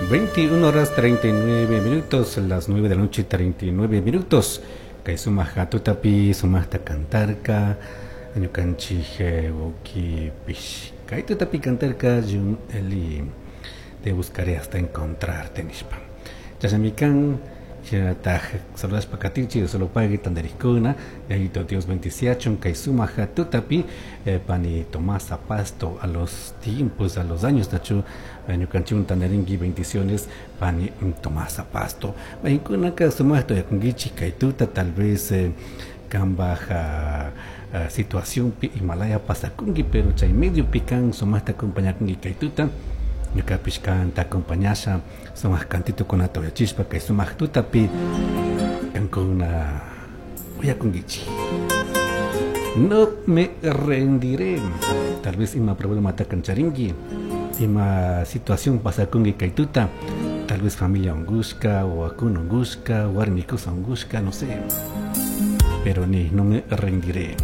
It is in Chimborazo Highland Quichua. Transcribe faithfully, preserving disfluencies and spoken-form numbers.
Veintiuno horas treinta y nueve minutos, las nueve de la noche treinta y nueve minutos. Kay sumaja tutapi sumajta cantarka ñukanchik ukipish kay tutapi cantarka Jun Eli, te buscaré hasta encontrarte nishpa. Chashnami kan shinataj saludashpa katinchik solo pagui tandarikuna yayito Dios bendiciachun kay sumaja tutapi eh, pani Tomasa Pasto a los tiempos, a los años nachu ñukanchik tandarinki bendiciones pani Tomasa Pasto. Maykunaka sumajta yakunkichik kay tuta tal vez eh, kambaja uh, situación pi Himalaya pasakunki pero chay medio pican sumajta acompañakunki kay tuta. Ñukapish kanta acompañasha sumaq cantito kunata uyachispa kay sumaq tutapi kankuna uyakunkichik. No me rendiré. Tal vez ima problema ta kancharinki, ima situación pasakunki kay tuta, tal vez familia ungushka o akuna ungushka, warmi kusa ungushka, no sé. Pero ni, no me rendiré.